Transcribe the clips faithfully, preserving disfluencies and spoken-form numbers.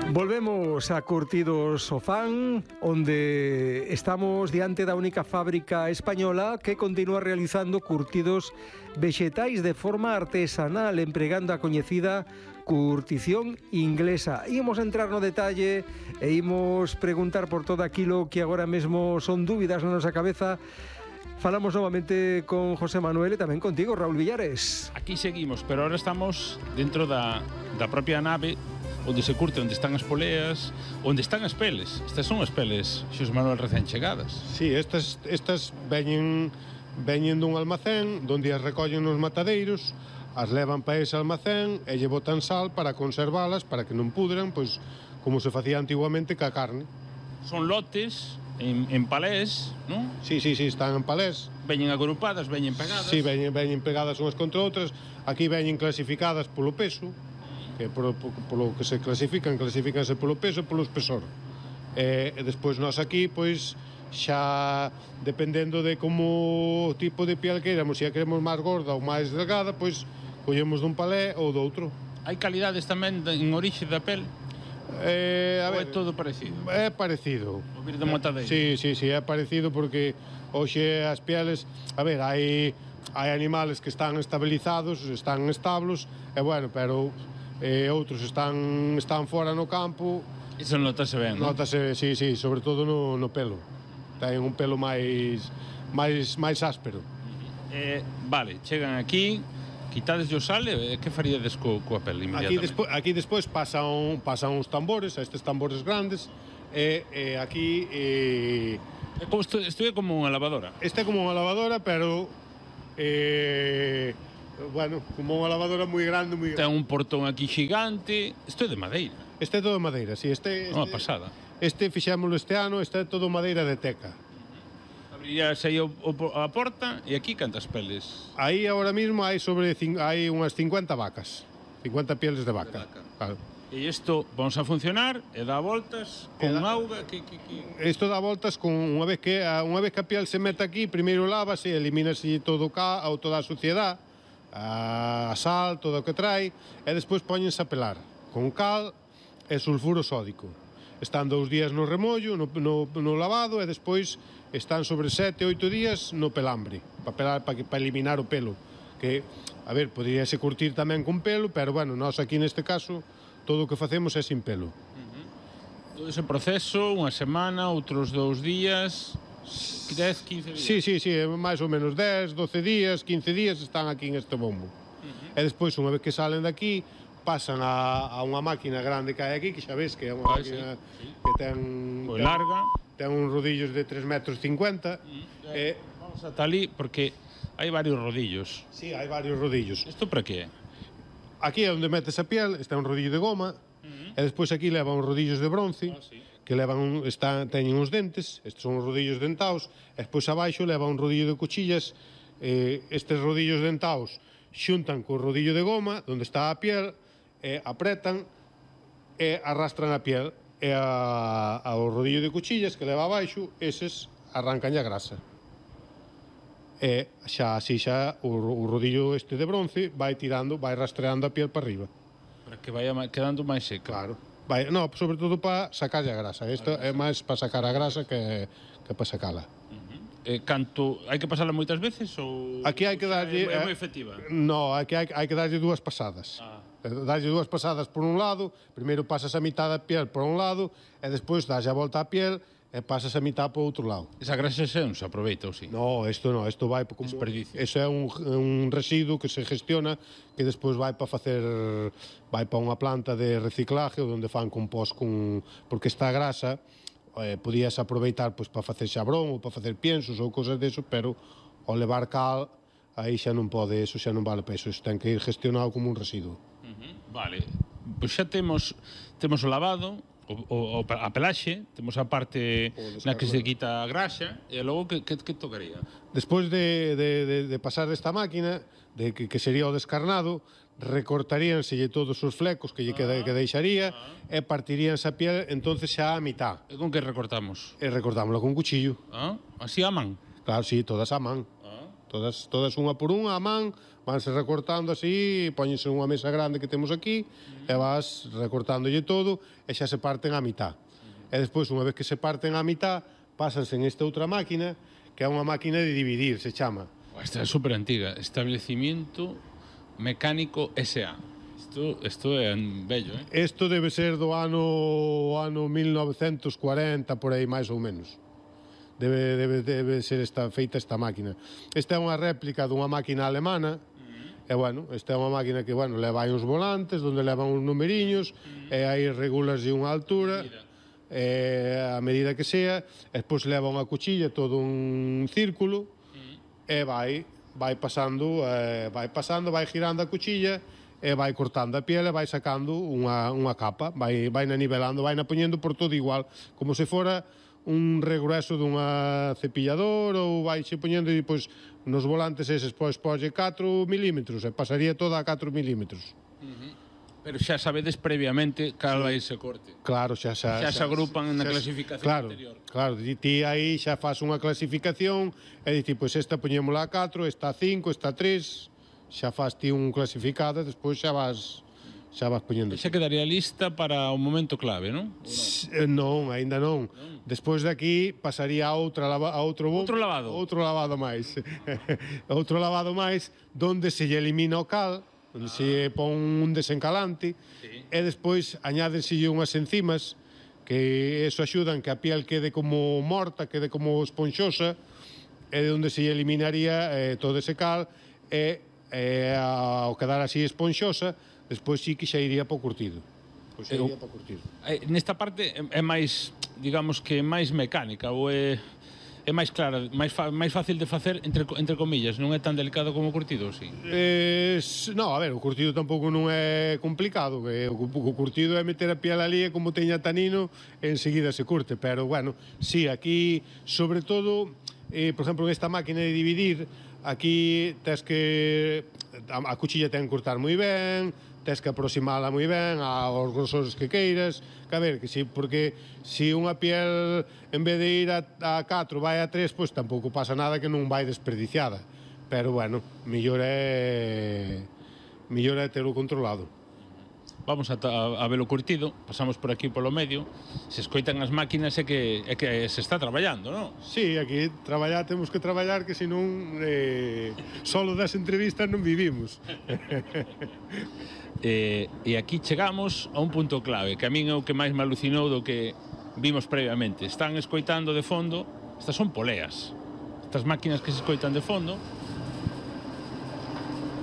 Volvemos a Curtidos Sofán, onde estamos diante da única fábrica española que continúa realizando curtidos vexetais de forma artesanal, empregando a coñecida curtición inglesa. Imos entrar no detalle e imos preguntar por todo aquilo que agora mesmo son dúbidas na nosa cabeza. Falamos novamente con José Manuel e tamén contigo, Raúl Villares. Aquí seguimos, pero ahora estamos dentro da, da propia nave onde se curte, onde están as poleas, onde están as peles. Estas son as peles, Xosé Manuel, recén chegadas. Sí, estas, estas veñen, veñen dun almacén onde as recollen nos matadeiros, as levan para ese almacén e lle botan sal para conservalas, para que non pudran, pois como se facía antiguamente ca carne. Son lotes en, en palés, non? Sí, sí, sí, están en palés. Veñen agrupadas, veñen pegadas. Sí, veñen, veñen pegadas unhas contra outras. Aquí veñen clasificadas polo peso, que polo, polo que se clasifican, clasifícanse polo peso e polo espesor. E, e despois nós aquí, pois, xa dependendo de como tipo de piel queiramos, se a queremos máis gorda ou máis delgada, pois collemos dun palé ou doutro. Hai calidades tamén en orixe da pel? Eh, a ou ver, é todo parecido? É parecido. O vir de matadeiro? Sí, sí, sí, é parecido porque hoxe as pieles, a ver, hai hai animales que están estabilizados, están en establos, e bueno, pero eh, outros están están fora no campo. Iso notase ben, non? Notase, sí, sí, sobre todo no, no pelo. Ten un pelo máis máis máis áspero. Eh, vale, chegan aquí, quitades o sal, e que faríades co, coa pel inmediatamente? Aquí despois, aquí despois pasan, pasan uns tambores, estes tambores grandes, e, e aquí... E, Isto, isto é como unha lavadora? Este é como unha lavadora, pero... Eh, bueno, como unha lavadora moi grande, moi grande. Ten un portón aquí xigante. Isto é de madeira. Este é todo madeira, si, sí, este... Unha pasada. Este fixémolo este ano, este é todo madeira de teca. Abrirás aí o, o, a porta, e aquí cantas peles? Aí agora mesmo hai sobre hai unhas cincuenta vacas, cincuenta pieles de vaca. De vaca. Claro. E isto vamos a funcionar e dá voltas con da... auga que, que, que... Isto dá voltas con unha vez que unha vez que a piel se mete aquí, primeiro lávase, elimínase todo o ca, ou toda a suciedade, a sal, todo o que trae, e despois póñense a pelar con cal e sulfuro sódico. Están dous días no remollo, no, no, no lavado, e despois están sobre sete, oito días no pelambre, para pelar, para, para eliminar o pelo. Que, a ver, poderíase curtir tamén con pelo, pero, bueno, nós aquí neste caso, todo o que facemos é sin pelo. Uh-huh. Todo ese proceso, unha semana, outros dous días, dez, quince días? Sí, sí, sí, máis ou menos dez, doce días, quince días están aquí en este bombo. Uh-huh. E despois, unha vez que salen daqui, pasan a, a unha máquina grande que hai aquí, que xa ves que é unha ah, máquina sí, sí. que ten... Pois larga. Ten uns rodillos de tres metros cincuenta. Uh-huh. E, vamos ata ali, porque hai varios rodillos. Sí, hai varios rodillos. Isto para que é? Aquí é onde metes a piel, está un rodillo de goma, uh-huh. E despois aquí leva uns rodillos de bronce, ah, sí. que levan un, está, teñen uns dentes, estes son os rodillos dentaos, e despois abaixo leva un rodillo de cuchillas, eh, estes rodillos dentaos xuntan co rodillo de goma, onde está a piel, e apretan e arrastran a piel, e a, ao rodillo de cuchillas que leva abaixo, eses arrancan a grasa. E xa así xa o, o rodillo este de bronce vai tirando, vai rastreando a piel para arriba. Para que vaya quedando máis seca. Claro. Vai, no, sobre todo para sacar a grasa. Isto é máis para sacar a grasa que, que para sacala. Uh-huh. Eh, canto, hai que pasarla moitas veces ou aquí hai que darlle é, é moi efectiva? No, hai que hai, hai que darlle dúas pasadas. Ah. Darlle dúas pasadas por un lado, primeiro pasas a mitad da piel por un lado e despois das a volta á piel e pasas a mitad por outro lado. Esa grasa xa non se aproveita, ou si? No, isto non, isto vai como desperdicio. Eso é un, un residuo que se gestiona que despois vai para facer vai para unha planta de reciclaje onde fan compost con porque esta grasa eh, podías aproveitar pois para facer xabrón ou para facer piensos ou cousas deso, pero ao levar cal aí xa non pode, eso xa non vale para eso, eso ten que ir gestionado como un residuo. Uh-huh. Vale, pois xa temos temos o lavado, o, o, a pelaxe, temos a parte na que se quita a graxa, e logo que, que, que tocaría? Despois de, de, de, de pasar desta máquina, de que, que sería o descarnado, recortaríanselle todos os flecos que lle ah, que deixaría ah. e partiríanse a piel entonces xa a mitad. E con que recortamos? E recortámosla con cuchillo. Ah, así a man? Claro, sí, todas a man. Ah. todas, todas unha por unha a man, vanse recortando así, póñense unha mesa grande que temos aquí, e vas recortándolle todo, e xa se parten á mitad. E despois, unha vez que se parten á mitad, pásanse en esta outra máquina, que é unha máquina de dividir, se chama. Esta é super antiga, Establecimiento Mecánico S A. Isto, isto é bello, eh? Isto debe ser do ano, ano mil novecentos cuarenta, por aí, máis ou menos. Debe, debe, debe ser esta, feita esta máquina. Esta é unha réplica dunha máquina alemana, e, bueno, esta é unha máquina que, bueno, leva aí uns volantes, onde levan uns numeriños, mm. e aí regulas de unha altura, e, a medida que sea, e despois leva unha cuchilla, todo un círculo, mm. e vai, vai pasando, eh, vai pasando, vai girando a cuchilla, e vai cortando a piel e vai sacando unha, unha capa, vai, vai na nivelando, vai na poñendo por todo igual, como se fora un regreso dunha cepillador, ou vai xe poñendo e pois nos volantes eses pois pois catro milímetros e pasaría toda a catro milímetros. Uh-huh. Pero xa sabedes previamente cal vai ese corte. Claro, xa xa, xa, xa se agrupan na clasificación claro, anterior. Claro, ti aí xa faz unha clasificación e dicir, pois esta poñémola a catro, esta a cinco, esta a tres, xa faz ti un clasificado e despois xa vas xa vas poñendo. Xa quedaría lista para o momento clave, non? Non, aínda non. non. Despois de aquí pasaría a outra lava, a outro outro lavado. Outro lavado máis. Outro lavado máis onde se lle elimina o cal, onde ah. se pon un desencalante, sí. E despois añádenselle unhas enzimas que eso axudan que a piel quede como morta, quede como esponxosa, e onde se lle eliminaría eh, todo ese cal e eh, ao quedar así esponxosa, despois sí que xa iría para o curtido. Pois xa iría para o curtido. Eh, nesta parte é máis, digamos que máis mecánica ou é é máis clara, máis fa, máis fácil de facer entre entre comillas, non é tan delicado como o curtido, si. Eh, no, a ver, o curtido tampouco non é complicado, que o, o curtido é meter a piel ali e como teña tanino, enseguida se curte, pero bueno, si, sí, aquí sobre todo, eh, por exemplo, en esta máquina de dividir, aquí tes que a, a cuchilla ten que cortar moi ben, tes que aproximala moi ben aos grosores que queiras, que a ver, que si, porque se si unha piel en vez de ir a, a catro vai a tres, pois tampouco pasa nada que non vai desperdiciada, pero bueno, mellor é mellor é telo controlado. Vamos a, a, a velo curtido, pasamos por aquí polo medio, se escoitan as máquinas é que, é que se está traballando, non? Sí, aquí traballar, temos que traballar, que senón eh, solo das entrevistas non vivimos. eh, e aquí chegamos a un punto clave, que a min é o que máis me alucinou do que vimos previamente. Están escoitando de fondo, estas son poleas, estas máquinas que se escoitan de fondo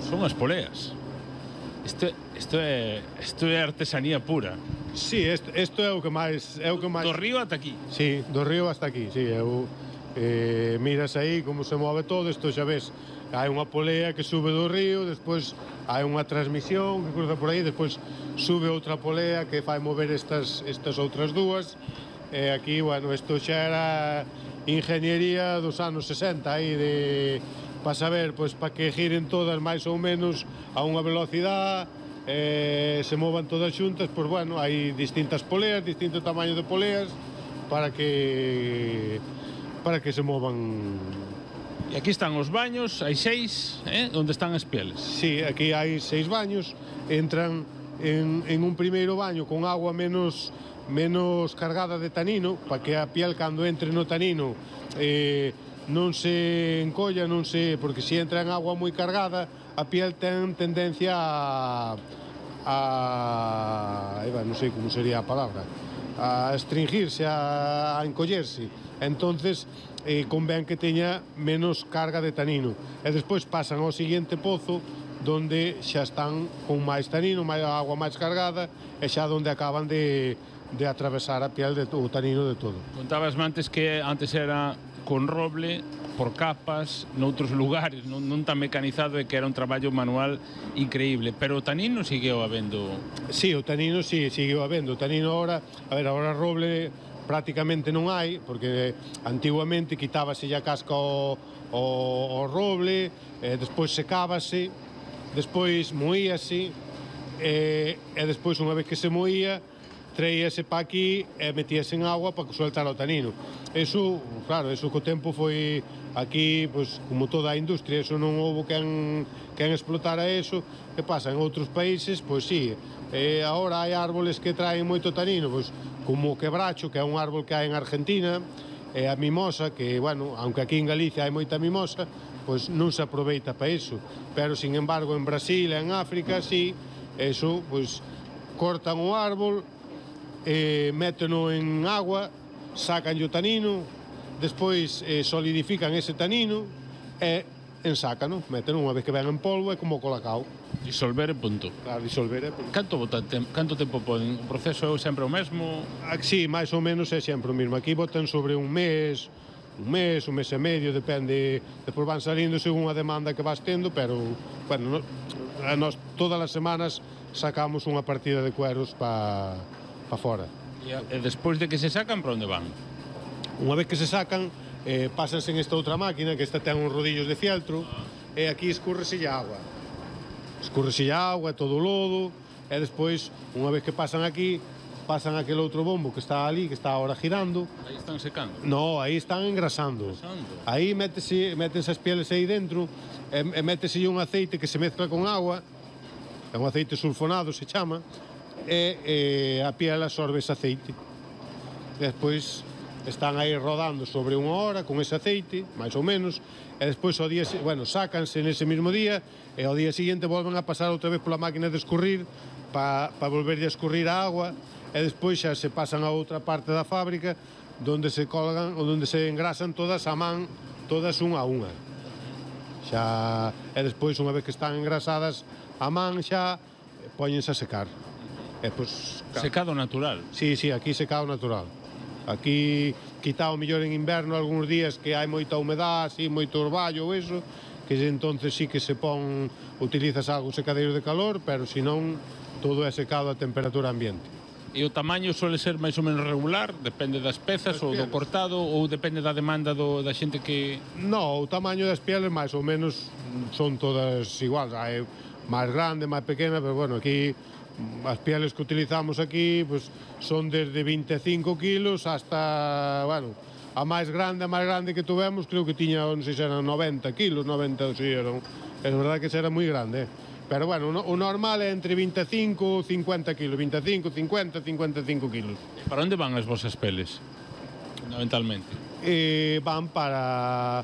son as poleas. Isto, isto, é, isto é artesanía pura. Sí, isto, isto é o que máis... É o que máis... Do río ata aquí. Sí, do río hasta aquí, sí. Eu, eh, miras aí como se move todo, isto xa ves. Hai unha polea que sube do río, despois hai unha transmisión que cruza por aí, despois sube outra polea que fai mover estas, estas outras dúas. E aquí, bueno, isto xa era ingeniería dos anos sesenta, aí de... para saber, pois, para que giren todas máis ou menos a unha velocidade, eh, se movan todas xuntas, pois, bueno, hai distintas poleas, distinto tamaño de poleas, para que para que se movan. E aquí están os baños, hai seis, eh, onde están as pieles. Sí, aquí hai seis baños, entran en, en un primeiro baño con agua menos menos cargada de tanino, para que a piel cando entre no tanino eh, non se encolla, non se... porque se entra en agua moi cargada, a piel ten tendencia a... a... non sei como sería a palabra, a estringirse, a, a encollerse. Entonces, eh, convén que teña menos carga de tanino. E despois pasan ao seguinte pozo, donde xa están con máis tanino, máis agua máis cargada, e xa donde acaban de, de atravesar a piel de o tanino de todo. Contabas antes que antes era con roble, por capas, noutros lugares, non, non tan mecanizado, e que era un traballo manual increíble, pero o tanino seguiu habendo... Sí, o tanino sí, seguiu habendo. O tanino ahora, a ver, ahora roble prácticamente non hai, porque antiguamente quitábase a casca ao, ao, ao roble, e despois secábase, despois moíase, e, e despois unha vez que se moía, traíase pa aquí e metíase en agua para que soltara o tanino. Eso, claro, eso co tempo foi aquí, pois, como toda a industria, eso non houve quen, quen explotara eso. Que pasa? En outros países, pois sí, eh, agora hai árboles que traen moito tanino, pois, como o quebracho, que é un árbol que hai en Argentina, e a mimosa, que, bueno, aunque aquí en Galicia hai moita mimosa, pois non se aproveita para iso. Pero, sin embargo, en Brasil e en África, sí, eso, pois, cortan o árbol, eh, méteno en agua, sacan o tanino, despois eh, solidifican ese tanino e ensácano, méteno unha vez que ven en polvo, é como o colacao. Disolver e punto. Claro, disolver é punto. Canto, bota, tem, canto tempo poden? O proceso é sempre o mesmo? Sí, máis ou menos é sempre o mesmo. Aquí botan sobre un mes, un mes, un mes e medio, depende, despois van salindo según a demanda que vas tendo, pero, bueno, no, nos todas as semanas sacamos unha partida de cueros para pa fora. E, e despois de que se sacan, para onde van? Unha vez que se sacan, eh, pásanse en esta outra máquina, que esta ten uns rodillos de fieltro, e aquí escúrrese a agua. Escúrrese a agua, todo o lodo, e despois, unha vez que pasan aquí, pasan aquel outro bombo que está ali, que está ahora girando. Aí están secando? No, aí están engrasando. Engrasando. Aí métese, métense as pieles aí dentro, e, e métese un aceite que se mezcla con agua, é un aceite sulfonado, se chama, e, e a piel absorbe ese aceite. E despois están aí rodando sobre unha hora con ese aceite, máis ou menos, e despois ao día, bueno, sácanse nese mesmo día e ao día seguinte volven a pasar outra vez pola máquina de escurrir para pa volver a escurrir a agua e despois xa se pasan a outra parte da fábrica donde se colgan ou donde se engrasan todas a man, todas unha a unha. Xa, e despois unha vez que están engrasadas a man xa póñense a secar. E pois, secado natural? Sí, sí, aquí secado natural. Aquí, quitado mellor en inverno algúns días que hai moita humedade, así, moito orballo ou eso, que entonces sí que se pon, utilizas algo secadeiro de calor, pero senón todo é secado a temperatura ambiente. E o tamaño suele ser máis ou menos regular? Depende das pezas ou do cortado ou depende da demanda do, da xente que... No, o tamaño das pieles máis ou menos son todas iguais. Hai máis grande, máis pequena, pero bueno, aquí as pieles que utilizamos aquí pues, son desde vinte e cinco kilos hasta, bueno, a máis grande, a máis grande que tuvemos, creo que tiña, non sei se eran noventa kilos, noventa, sí, eran, é verdade que era moi grande, eh? Pero bueno, o normal é entre vinte e cinco e cincuenta kilos, vinte e cinco, cincuenta, cincuenta e cinco kilos. Para onde van as vosas peles, fundamentalmente? Eh, van para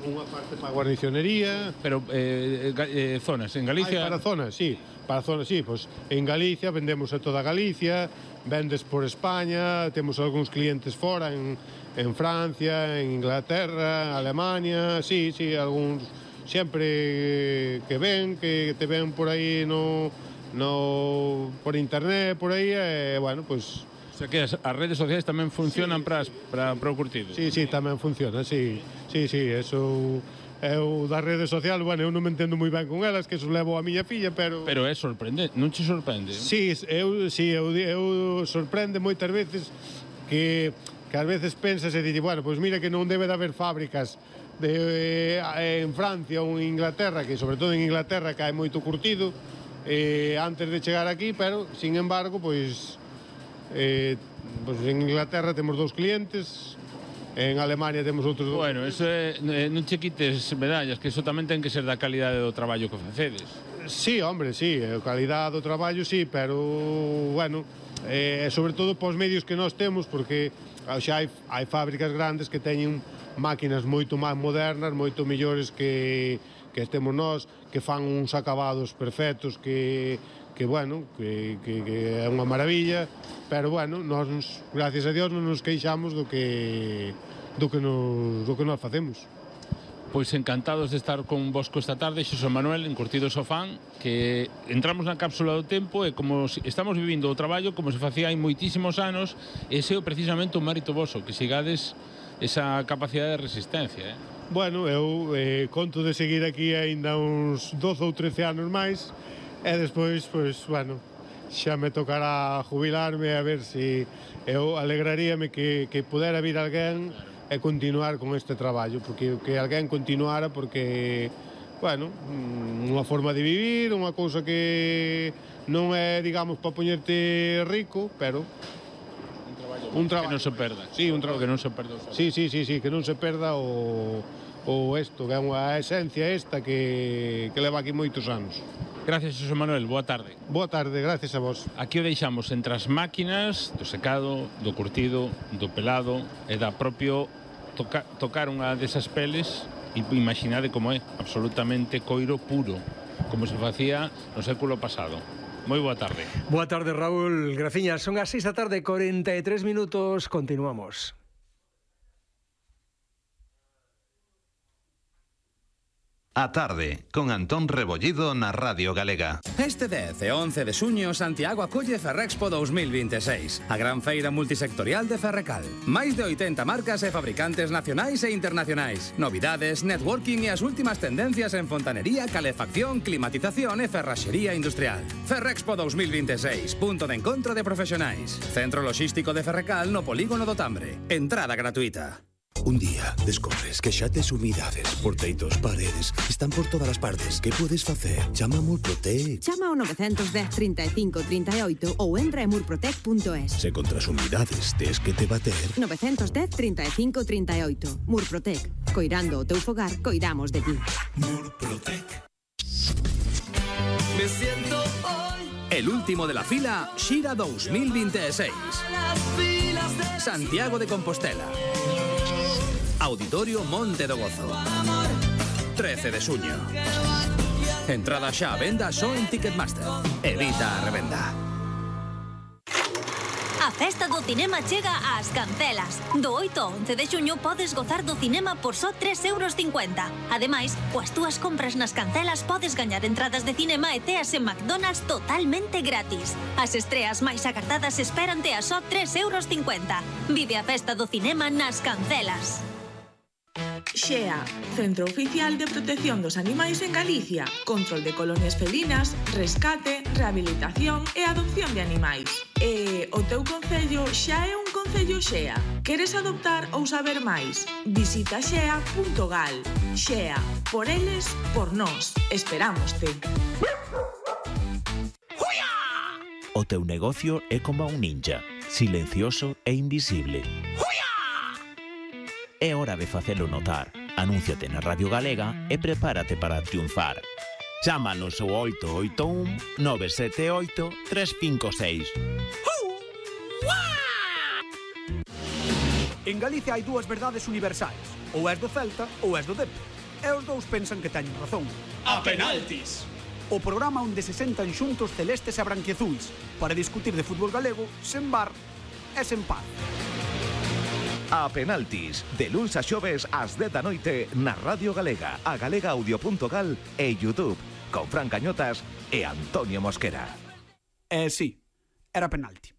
unha parte para a guarnicionería. Pero eh, eh, zonas, en Galicia... Ay, para zonas, sí, para zonas, sí, pues, en Galicia vendemos a toda Galicia, vendes por España, temos algúns clientes fora, en, en Francia, en Inglaterra, en Alemania, sí, sí, algúns sempre que ven, que te ven por aí no, no por internet, por aí, e, bueno, pues... O sea que as, as redes sociais tamén funcionan sí, para, sí. para, para o curtido. Sí, sí, tamén funciona, sí, sí, sí, eso... Eu das redes sociais, bueno, eu non me entendo moi ben con elas, que eso levo a miña filla, pero... Pero é sorprendente, non che sorprende? Sí, eu, sí, eu, eu sorprende moitas veces que, que ás veces pensas e dices, bueno, pois pues mira que non debe de haber fábricas de, eh, en Francia ou en Inglaterra, que sobre todo en Inglaterra que hai moito curtido, eh, antes de chegar aquí, pero, sin embargo, pois, eh, pois en Inglaterra temos dous clientes, en Alemania temos outros dous. Bueno, eso é, non che quites medallas, que eso tamén ten que ser da calidade do traballo que facedes. Sí, hombre, sí, a calidade do traballo sí, pero, bueno, eh, sobre todo pos medios que nós temos, porque xa hai, hai fábricas grandes que teñen máquinas moito máis modernas, moito mellores que, que temos nós, que fan uns acabados perfectos, que, que bueno, que, que, que é unha maravilla, pero, bueno, nós, gracias a Dios, non nos queixamos do que, do que, nos, do que nós facemos. Pois encantados de estar con vosco esta tarde, Xosé Manuel, en Curtidos ao Fan, que entramos na cápsula do tempo e como si, estamos vivindo o traballo como se facía hai moitísimos anos, ese é precisamente o mérito voso, que sigades esa capacidade de resistencia, eh? Bueno, eu eh, conto de seguir aquí aínda uns doce ou trece anos máis e despois, pois, bueno, xa me tocará jubilarme a ver se eu alegraríame que, que pudera vir alguén e continuar con este traballo, porque que alguén continuara porque bueno, unha forma de vivir, unha cousa que non é, digamos, para poñerte rico, pero un traballo que non se perda. Sí, un traballo que non se perda. Sí, sí, sí, sí, que non se perda o o isto, que é unha esencia esta que, que leva aquí moitos anos. Gracias, Xosé Manuel, boa tarde. Boa tarde, gracias a vos. Aquí o deixamos entre as máquinas do secado, do curtido, do pelado e da propio toca, tocar unha desas peles e imaginade como é, absolutamente coiro puro, como se facía no século pasado. Moi boa tarde. Boa tarde, Raúl. Graciñas, son as seis da tarde, cuarenta e tres minutos. Continuamos. A tarde, con Antón Rebollido na Radio Galega. Este dez e once de xuño, Santiago acolle Ferrexpo dos mil vinte e seis, a gran feira multisectorial de Ferrecal. Máis de oitenta marcas e fabricantes nacionais e internacionais. Novidades, networking e as últimas tendencias en fontanería, calefacción, climatización e ferraxería industrial. Ferrexpo dos mil vinte e seis, punto de encontro de profesionais. Centro Logístico de Ferrecal no Polígono do Tambre. Entrada gratuita. Un día descobres que xa tes humidades, porteitos, paredes, están por todas as partes. Que podes facer? Chama a Murprotec. Chama ao nove un cero, trinta e cinco, trinta e oito ou entra en murprotec punto es. Se contra as humidades tes que te bater... nove un cero, trinta e cinco, trinta e oito. Murprotec. Coirando o teu fogar, coidamos de ti. Murprotec. Me siento hoy el último de la fila Xira dos mil vinte e seis. Santiago de Compostela. Auditorio Monte do Gozo. trece de xuño. Entrada xa a venda só en Ticketmaster. Evita a revenda. A festa do cinema chega ás Cancelas. Do oito ao once de xuño podes gozar do cinema por só tres euros cincuenta. Ademais, coas túas compras nas Cancelas podes gañar entradas de cinema e teas en McDonald's totalmente gratis. As estreas máis agardadas esperante a só tres euros cincuenta. Vive a festa do cinema nas Cancelas. Xea, Centro Oficial de Protección dos Animais en Galicia. Control de colonias felinas, rescate, rehabilitación e adopción de animais. E o teu concello xa é un concello Xea. Queres adoptar ou saber máis? Visita xea punto gal. Xea, por eles, por nós. Esperámoste. O teu negocio é como un ninja, silencioso e invisible. É hora de facelo notar. Anúnciate na Radio Galega e prepárate para triunfar. Chámanos ao oito oito un, nove sete oito, tres cinco seis. En Galicia hai dúas verdades universais. Ou és do Celta ou és do Depor. E os dous pensan que teñen razón. A penaltis! O programa onde se sentan xuntos celestes e branquiazuis para discutir de fútbol galego sen bar e sen paz. A penaltis, de luns a xoves ás dez da noite na Radio Galega, a galega audio punto gal e YouTube, con Fran Cañotas e Antonio Mosquera. Eh, sí, era penalti.